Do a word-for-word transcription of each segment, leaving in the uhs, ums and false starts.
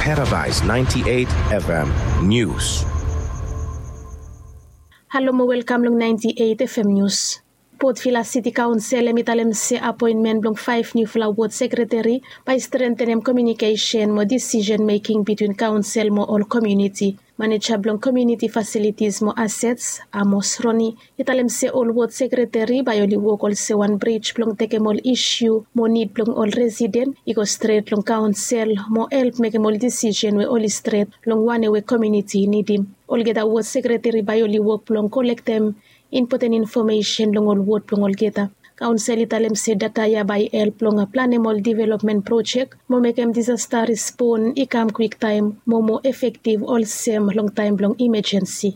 Paradise ninety-eight F M News. Halo mo welkam long ninety-eight F M News. Port Vila City Council hemi talem se apointmen blong five niufala ward sekreteri bae i strengtenem komiunikesen mo decision making between council mo ol community. Maneja blong community facilities mo assets, Amos Roni, i talem se ol ward sekreteri bae oli wok olsem wan brij blong tekem ol isu mo nid blong ol residen i go stret long council mo help mekem ol decision we oli stret long wanem we komiuniti i nidim. Olgeta ward sekreteri bae oli wok blong kolektem impoten infomesen long ol ward blong olgeta. Council i talem se data ya bae i help long planem ol development projek mo mekem disaster respon i kam kwiktaem mo moa efektiv olsem long taem blong imajensi.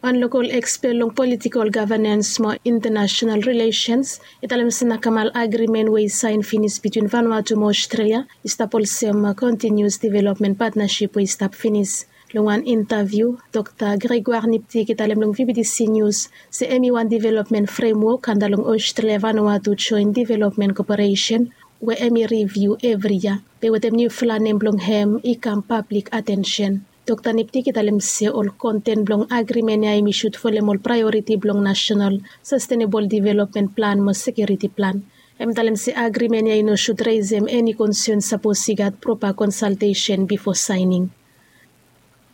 Wan lokol ekspet long politikol gavanens mo intanasenal rilesens i talem se nakamal agrimen we i saen finis bitwin Vanuatu mo Australia i stap olsem kontinius development patnasip we i stap finis. Long wan intaviu, Dokta Gregoire Niptik i talem long V B T C News se hemi wan development fremwok anda long Australia Vanuatu Joint Development Koperesen we hemi riviu evri yia. Be wetem niufala nem blong hem i kam pablik atensen. Dokta Niptik i talem se ol konten blong agrimen ya hemi sud folem ol praeoriti blong nasenal sastenebol development plan mo sekiuriti plan. Hem i talem se agrimen ya i no sud resem eni konsen sapos i gat propa konsaltesen bifo saening.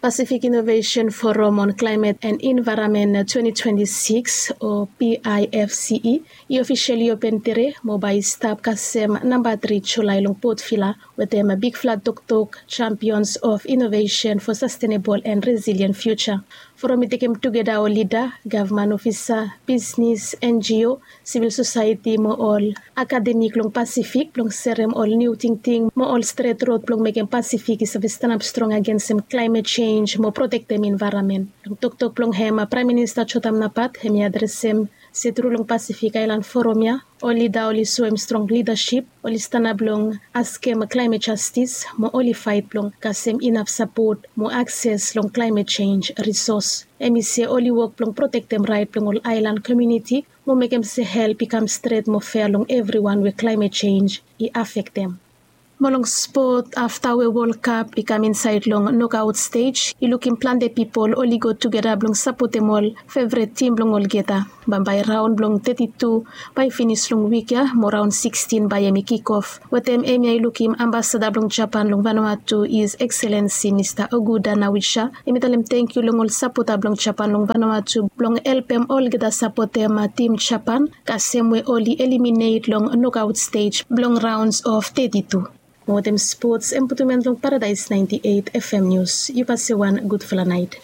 Pacific Innovation Forum on Climate and Environment twenty twenty-six o P I F C E i ofisali open tede mo bae i stap kasem namba tri Julae long Port Vila wetem bigfala toktok Champions of Innovation for Sustainable and Resilient Future. Forum i tekem tugeta ol lida, gavman ofisa, bisnis, N G O, sivil sosaeti mo ol akademik long Pasifik blong serem ol niu tingting mo ol stret rod blong mekem Pasifik i save stanap strong agensem klaemet jenj mo protektem envaeronmen. Long toktok blong hem, Praem Minista Jotam Napat hemi adresem se tru long Pasifik Aelan Forum ya ol lida oli soem strong lidasip, oli stanap blong askem klaemet jastis mo oli faet blong kasem inaf sapot mo akses long klaemet jenj risos. Hemi se oli wok blong protektem raet blong ol aelan komiuniti mo mekem se help i kam stret mo fea long evriwan we klaemet jenj i afektem. Mo long spot, afta we Wol Kap i kam insaed long nokaot stej, i lukim plante pipol oli go tugeta blong sapotem ol fevret tim blong olgeta. Bambae raon blong teti tu bae i finis long wik ya mo raon sikstin bae hemi kikof. Wetem hemia i lukim Ambasada blong Japan long Vanuatu, His Excellency Mista Okuda Nawisha, hemi talem tangkiu long ol sapota blong Japan long Vanuatu blong helpem olgeta sapotem tim Japan kasem we oli eliminet long nokaot stej blong raons of teti tu. Mo wetem spots, hem putum en long Paradaes naenti eit F M Nius. Yu pase wan gudfala naet.